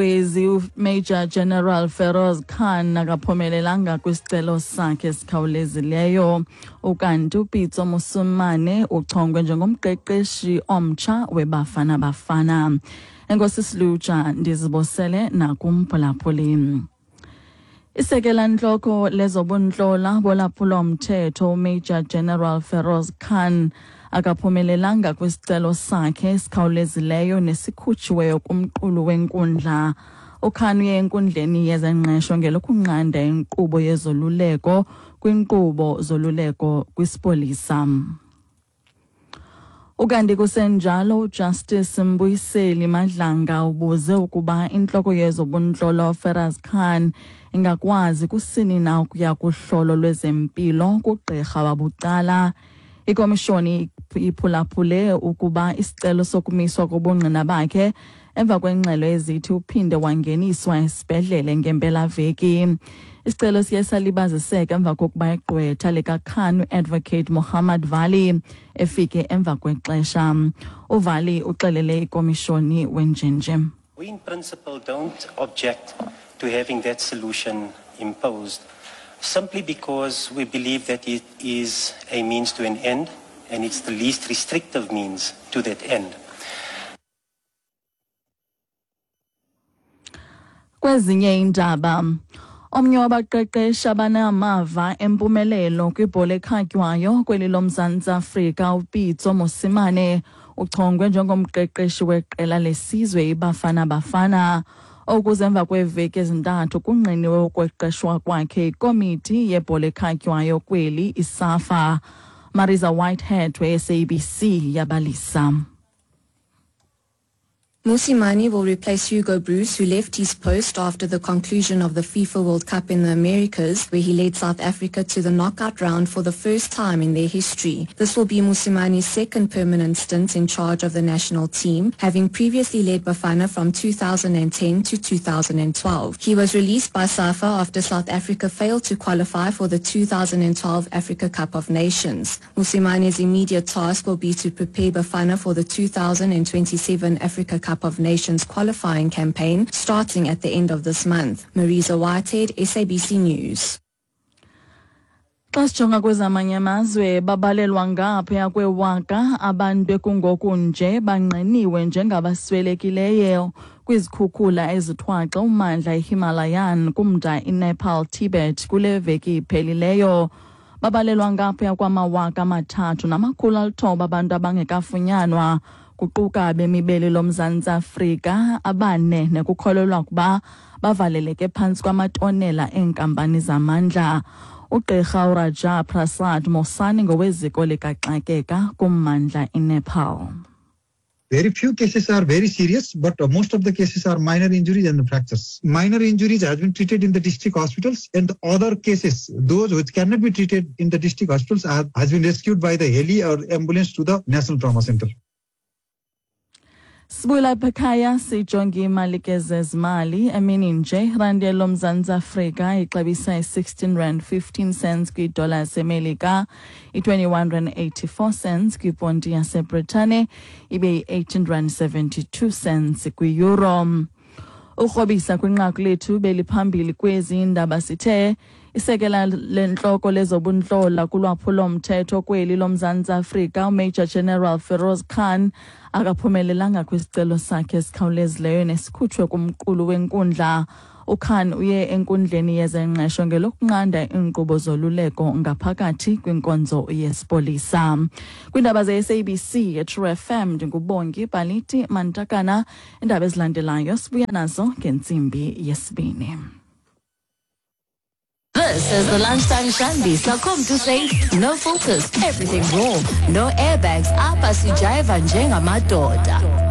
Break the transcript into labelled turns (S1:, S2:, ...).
S1: Kwezi uMajor General Feroz Khan akaphumelelanga kwisicelo sakhe esikhawulezileyo. Ukanti uPitso Mosimane uchongwe njengomqeqeshi omtsha weBafana Bafana. Enkosi Silutsha, ndizibosele nakumphulaphuli. Isekela ntloko lezobuntlola bolwaphulo-mthetho uMajor General Feroz Khan akaphumelelanga kwisicelo sakhe esikhawulezileyo nesikhutshiweyo kumqulu wenkundla. UKhan uye enkundleni yezengqesho ngelokunqanda inkqubo yezoluleko kwinkqubo zoluleko kwisipolisa. Ukanti kusenjalo, uJustice Mbuyiseli Madlanga ubuze ukuba intloko yezobuntlola uFeroz Khan ingakwazi kusini na ukuya kuhlolo lwezempilo kugqirha wabucala. Ikomishoni iphulaphule ukuba isicelo sokumiswa kobungqina bakhe emva kwengxelo ezithi uphinde wangeniswa esibhedlele ngempelaveki. Isicelo siye salibaziseka emva kokuba igqwetha likaKhan, uAdvocate Mohammed Vali, efike emva kwexesha. UVali uxelele ikomishoni wenjenje:
S2: We in principle don't object to having that solution imposed, simply because we believe that it is a means to an end and it's the least restrictive means to that end.
S1: Kwezinye iindaba, omnye wabaqeqeshi abanamava empumelelo kwibhola ekhatywayo kweli loMzantsi Afrika, uPitso Mosimane, uchongwe njengomqeqeshi weqela lesizwe iBafana Bafana. Okuze emva kweeveki ezintathu kungqiniwe ukweqeshwa kwakhe ikomiti yebhola ekhatywayo kweli, iSAFA. Marisa Whitehead we-SABC yabalisa.
S3: Mosimane will replace Hugo Broos, who left his post after the conclusion of the FIFA World Cup in the Americas, where he led South Africa to the knockout round for the first time in their history. This will be Mosimane's second permanent stint in charge of the national team, having previously led Bafana from 2010 to 2012. He was released by SAFA after South Africa failed to qualify for the 2012 Africa Cup of Nations. Mosimane's immediate task will be to prepare Bafana for the 2027 Africa Cup of Nations qualifying campaign starting at the end of this month. Marisa Whitehead, SABC News.
S1: Xa sijonga kwezamanye amazwe, babalelwa ngaphaya kwewaka abantu ekungoku nje bangqiniwe njengabaswelekileyo kwizikhukhula ezithwaxa ummandla iHimalayan kumda iNepal Tibet kule veki iphelileyo. Babalelwa ngaphaya kwama-3,900 abantu abangekafunyanwa, kuquka abemi beli loMzantsi Afrika abane nekukholelwa ukuba bavaleleke phantsi kwamatonela eenkampani zamandla. Ugqirha uRaja Prasad Mosani ngoweziko likaxakeka kummandla iNepal.
S4: Very few cases are very serious, but most of the cases are minor injuries and fractures. Minor injuries have been treated in the district hospitals, and other cases, those which cannot be treated in the district hospitals, has been rescued by the heli or ambulance to the National Trauma Center.
S1: Sibuyela apha ekhaya, sijonge imali ke zezimali. Emini nje, irandi yeloMzantsi Afrika ixabisa i-16 rand 15 cents kwidola yaseMelika, i-21 rand 84 cents kwiponti yaseBritane, ibe yi-18 rand 72 cents kwi-euro. Ukrobisa kwinqaku lethu beliphambili kwezi ndaba, sithe isekela lentloko lezobuntlola kulwaphulo-mthetho kweli loMzantsi Afrika, uMajor General Feroz Khan, akaphumelelanga kwisicelo sakhe esikhawulezileyo nesikhutshwe kumqulu wenkundla. UKhan uye enkundleni yezengqesho ngelokunqanda iinkqubo zoluleko ngaphakathi kwinkonzo yesipolisa. Kwiindaba ze-SABC eTrue FM, ndinguBongi Baliti Mantakana. Iindaba ezilandelayo sibuya nazo ngentsimbi yesibini.
S5: This is the Lunchtime Shandy. So come to say no filters, everything raw, no airbags. Apha sijayiva njengamadoda.